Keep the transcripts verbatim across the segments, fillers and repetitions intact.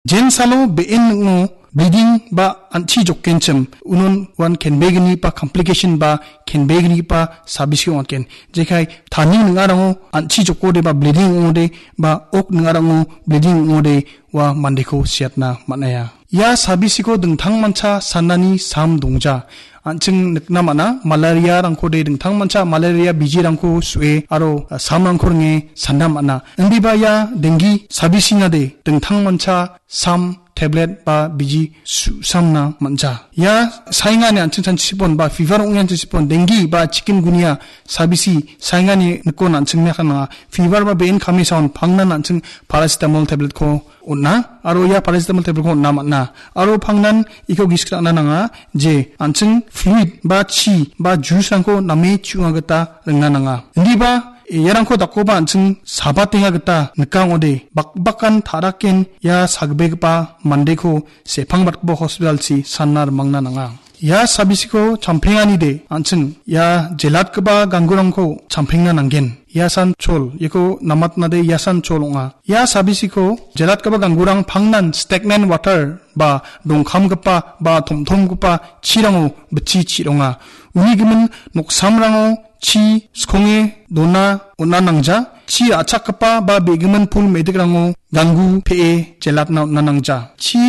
Jensalo be·en ning·o bleeding ba an·chi jokkenchim, unon uan kenbegni ba complication ba kenbegni ba sabisi ong·atgen. Jekai tani ning·arango an·chi jokode ba bleeding ong·ode ba ok ning·arango bleeding ong·ode ua mandeko siatna man·aia. Ia sabisiko dingtangmancha sanani sam dongja. An·ching nikna man·a, malaria-rangkode dingtangmancha malaria bijirangko su·e aro, ah, samrangko ringe sanda man·a. Indiba ia denggi sabisinade dingtangmancha sam tablet ba biji su·samna man·ja. Ia saengani an·ching chanchipon ba fever ong·e chanchipon, denggi ba chikungunya sabisi saengani nikon an·ching naka nanga. Fever ba be·en kamisaon pangnan an·ching paracetamol tabletko on·a, aro ia paracetamol tabletko on·na man·a. Aro pangnan iko gisik ra·na nanga, je an·ching fluid ba chi ba juice-rangko name chu·na gita ringna nanga. Indiba iarangko dakkoba an·ching sabatenga gita nika ong·ode, bakbakan ta·raken ia sagbegipa mandeko sepangbatgipa hospital-chi sanna rimangna nanga. Ia sabisiko champenganide an·ching ia jelatgipa ganggurangko champengna nanggen. Iasan chol, iako namatnade iasan chol ong·a. Ia sabisiko jelatgipa ganggurang pangnan stagnant water ba dongkamgipa ba tomtomgipa chirango bitchi chi·ronga. Uni gimin noksamrango chi skonge dona on·na nangja. Chi ra·chakgipa ba begimin pul me·dikrango ganggu pe·e jelatna on·na nangja. Chi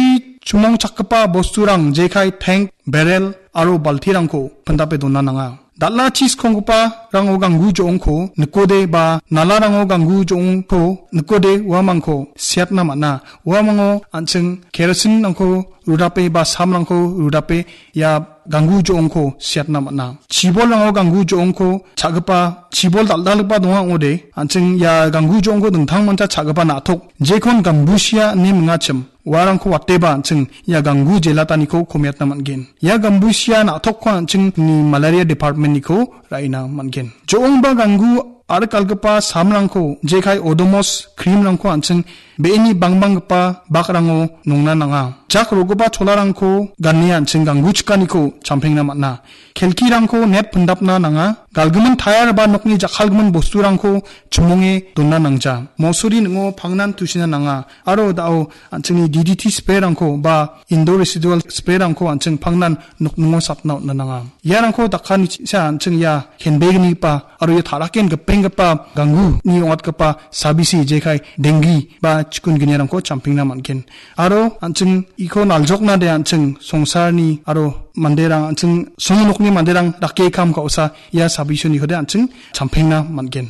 chumongchakgipa bosturang jekai tank, barrel aro baltirangko pindape dona nanga. Dal·a chi skonggiparango ganggu jo·ongko nikode ba nalarango ganggu jo·ongko nikode uamangko siatna man·a. Uamango an·ching kerosin-rangko rudape ba samrangko rudape ia ganggu jo·ongko siatna man·a. Chibolrango ganggu jo·ongko cha·gipa, chibol dal·dalgipa donga ong·ode, an·ching ia ganggu jo·ongko dingtangmancha cha·gipa na·tok, jekon gambusia ine mingachim. Uarangko wateba an·ching ia ganggu jelataniko komiatna man·gen. Ia gambusia na·tokko an·ching ni malaria department-niko ra·ina man·gen. Jo·ongba ganggu arikalgipa samrangko, jekai Odomos cream-rangko an·ching be·eni bangbanggipa bakrango nongna nanga. Jak ro·gipa cholarangko gane an·ching ganggu chikaniko champengna man·a. Kelkirangko net pindapna nanga. Galgimin tayar ba nokni jakkalgimin bosturangko chimonge dona nangja. Mosori ning·o pangnan tusina nanga. Aro da·o an·chingni D D T spray-rangko ba indoor residual spray-rangko an·ching pangnan nokningo sapna on·na nanga. Iarangko dakani cha an·ching ia kenbegnigipa aro ia taraken gipenggipa gangguni ong·atgipa sabisi jekai denggi ba chikungunyarangko champengna man·gen. Aro an·ching iko naljoknade an·ching songsarni aro manderang an·ching songnokni manderang dake kam ka·osa ia sabisoniko de an·ching champengna man·gen.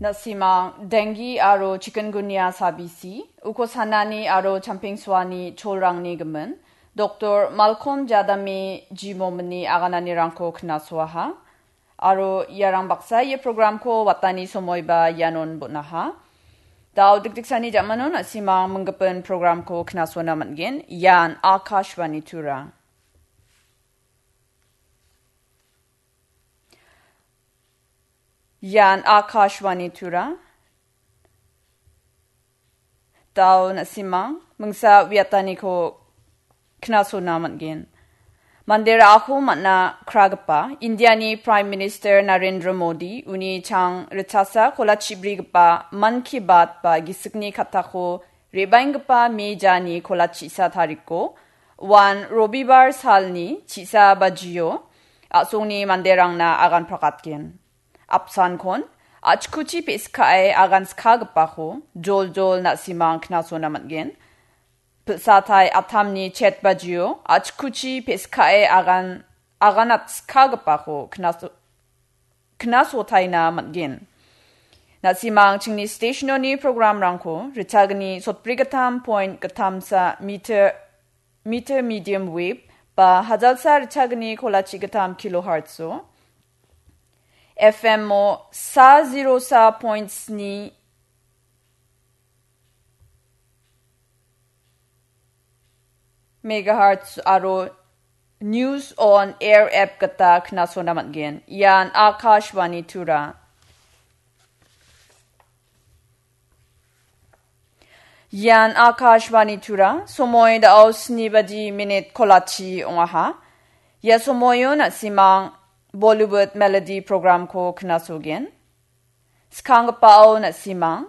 Na·simang denggi aro chikungunya sabisi, uko sanani aro champengsoani cholrangni gimin, Doktor Malcolm Jadami Jimomini agananirangko knasoaha. Aro iarang baksa ia programko watani somoiba ianon bon·aha. Dao dikdiksani jamanon na·simang minggipin programko knasona man·gen. Ian Akashvani Tura. Ian Akashvani Tura. Dao na·simang mingsa wiataniko knasona man·gen. Mandera aho man·a kragipa Indiani Prime Minister Narendra Modi uni chang ritchasa kolachibrigipa Mann Ki Baat ba gisikni kattako re·baenggipa Me jani kolachi sa tariko, uan Robibar salni chisa bajio a·songni manderangna agan prakatgen. Apsankon, achkuchi pe·skae agan skagipako joljol na·simang knasona man·gen. Pilsatai atamni chet bajio achkuchi pe·skae agan, aganat skagipako knaso-, knasotaina man·gen. Na·simang chingni stationoni programrangko ritchagni sotbrigittam point gittamsa meter, meter medium wave ba hajalsa ritchagni kolachi gittam kilohertzo, F M o sa zero sa point sni megahertz aro News on Air app gita knasona man·gen. Ian Akashvani Tura. Ian Akashvani Tura, somoi dao sni baji minit kolachi ong·aha. Ia somoio na·simang Bollywood Melody programko knasogen. Skanggipao na·simang